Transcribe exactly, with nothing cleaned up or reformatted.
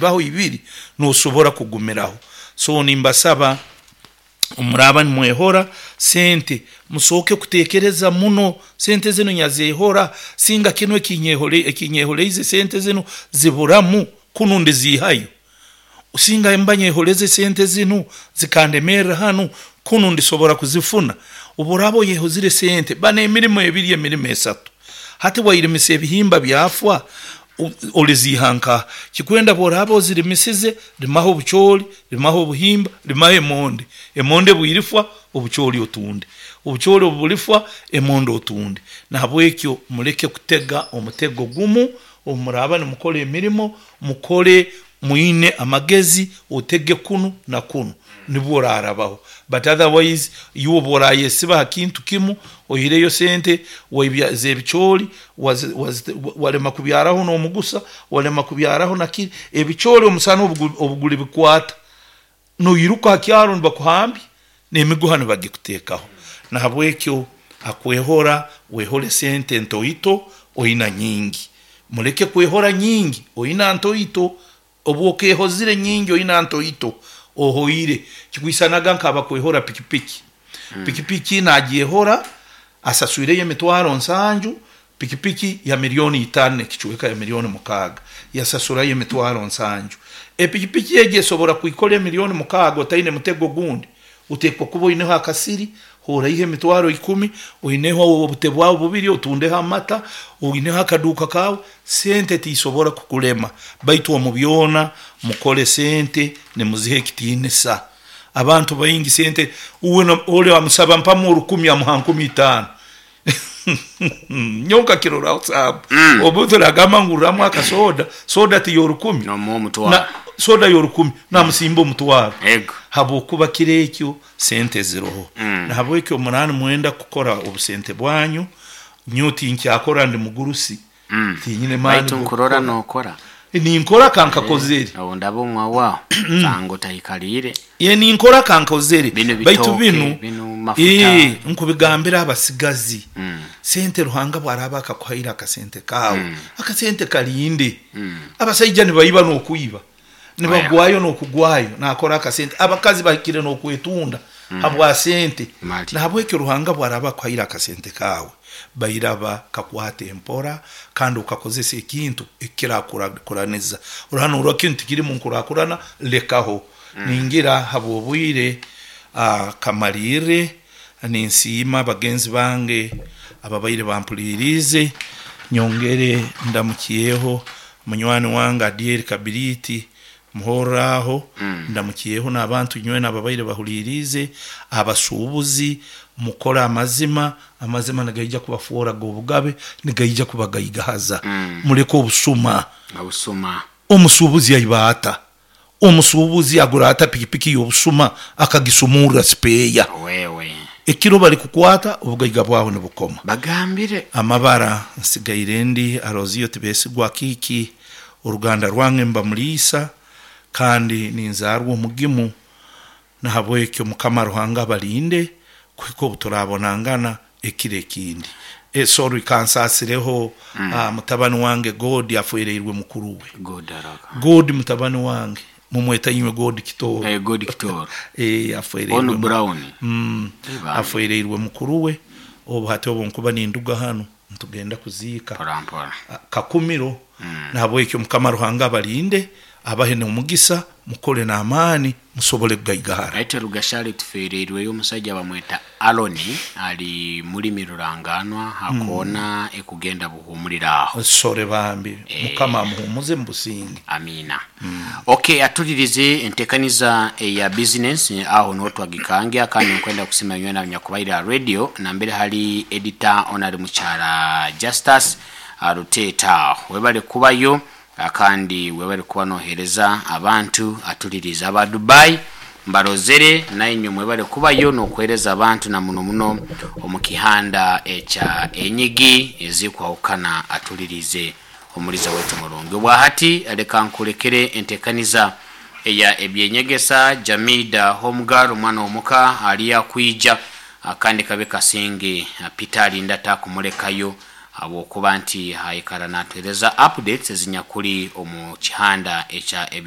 Baho ibiri nosobora kugumiraho. So nimbasaba, omuraba nimwehora sente, musooke kutekereza muno. Sente zinu nyazehora singa kinu ekinyeholeize, sente zinu ziburamu kunu ndizihayo. Singa mba nyeholeze sente zinu zikandemerra hanu, kunu ndisobora kuzifuna. Obu oraaba oyehozire sente, bana emirimo ebiri, emirimo esatu, hati wairimisa ebihimba byafwa, oliziiha nkaha? Kikwenda bworaaba ozirimisize, limaho obucooli, limaho obuhimba, limaho emonde. Emonde bwirifwa, obucooli otunde; obucooli obu bulifwa, emonde otunde. Nahabwekyo muleke kutega omutego gumu. Obu muraaba nimukora emirimo, mukole mwine amagezi, otege kunu na kunu, nibwo oraarabaho. But otherwise iwe obu orayesiba ha kintu kimu, oihireyo sente z'ebicooli, walema kubyaraho n'omugusa, walema kubyaraho nakiri ebicooli, omusana obu gulibikwata, noiruka ha kyaro nibakuhambya n'emiguha nibagikuteekaho. Nahabwekyo akwehora, wehole sente ntoito oina nyingi. Muleke kwehora nyingi oina ntoito. Obu okeehozire nyingi oina ntoito, ohoire. Kikwisanaga nk'abakwehora pikipiki. Pikipiki nagyehora, asaswireyo emitwaro nsanju, pikipiki ya milioni itaano n'ekicweka, ya milioni mukaaga, yasasurayo emitwaro nsanju. Epikipiki egi esobora kwikora emilioni mukaaga otaine mutego gundi? Oteekwa kuba oineho akasiri oraiha emitwaro ikumi, oineho obute bwawe bubiri otundeho amata, oineho akaduuka kaawe. Sente tiisobora kukulema. Baitu omu byona mukole sente nimuziha ekitiinisa. Abantu baingi sente, uwe oli amusaba mpamu orukumi, amuha nkumi itaano. Nyowe nkakiroraho saabu. Mm. Omuntu nagamba ngurramu akasoda, soda tiyorukumi, nomuha omutwaro, soda yorukumi namusimba omutwaro. Ego. Habwokuba kiro ekyo sente ziroho. Mm. Nahabwekyo muraaba nimwenda kukora obusente bwanyu, nyowe tinkyakora, ndi mugurusi. Mm. Tinyine maani Baitu nkurora g'okukora. Nokora. Ninkora kankakozere. Obu ndaba omwa waho sanga otaikalire. Ye, ninkora kankozere. Bino Baitu bitooke, binu bino mafuta. Ee, nkubigambira abasigazi. Mm. Sente Ruhanga bwaraba akakuhaire akasente kaawe, Mm. akasente kalinde. Mm. Abasaija nibaiba n'okwiba, nibagwayo n'okugwayo nakora akasente. Abakazi bahikire n'okwetunda habwa sente. Mali. Nahabwekyo Ruhanga bwaraba akuhaire akasente kaawe, bairaba kakwate empora kandi okakozesa ekintu ekirakuraniza. Oraba kintu tikirimu nkurakurana, lekaho. Ningira habw'obwire uh, kamalirre. Ninsiima bagenzi bange ababaire bampuliriize. Nyongere ndamukyeho munywani wange Adieri Kabiriti muhorraho. Mm. Ndamukyeho n'abantu nywena ababaire bahuliriize. Abasuubuzi, mukole amazima. Amazima nigaija kubafoora g'obugabe, nigaija kubagaigahaza. Mm. Muleke obusuma. Obusuma. Omusuubuzi aiba ata? Omusuubuzi agura ata pikipiki y'obusuma akagisumurra sipeeya? Wewe. Ekiro bali kukwata, obugaiga bwawe nibukoma. Bagambire. Amabara nsigaire ndi Aroziyo Tibesigwa Kiiki. Oruganda rwange mba Muliisa kandi ninzaarwa omugimu. Nahabwekyo Mukama Ruhanga abalinde kuhika obu turabonangana ekiro ekindi. E, sorry, kansaasireho. Mm. uh, mutabani wange God afwereirwe mukuru we. God araka. God mutabani wange, mumweta inywe God Kitoro. Eh, God Kitoro. E, afwereirwe onu Brown. mm, Eba. Afwereirwe mukuru we. Obu hati obu nkuba ninduga hanu ntugenda kuziika. Mpora mpora. Ah, Kakumiro. Mm. Nahabwekyo Mukama Ruhanga abalinde, abahe n'omugisa, mukole n'amaani musobole kugaigahara. Aite Rugashali tufereirweyo omusajja bamweta Aloni, ali mulimi ruranganwa hakoona ekugenda buhumulira aho. Sore bambi. Eh. Mukama amuhumuze mu businge. Amina. Okay, atulirize entekaniza eya business aho notwagikangya. Kandi nkwenda kusima nywe na nyakubaire radio nambere hali editor onali mukyala Justus Aruteta, webale kubayo ah, kandi webale kuba nohereza abantu. Atuliriza aba Dubai mbarozere, nainywe mwebale kubayo nokuhereza abantu, na muno muno omu kihanda ekya enyigi ezikwahukana. Atulirize omuliza wetu murungi. Obwahati leka nkulekere entekaniza eya ebyenyegesa. Jamida Homegal, omwana omuka ali akwija, ah, kandi kabe kasinge ah, Peter alinda takumulekayo habwokuba nti aikara natuhereza updates ezinyakuli omu kihanda ekya ebye.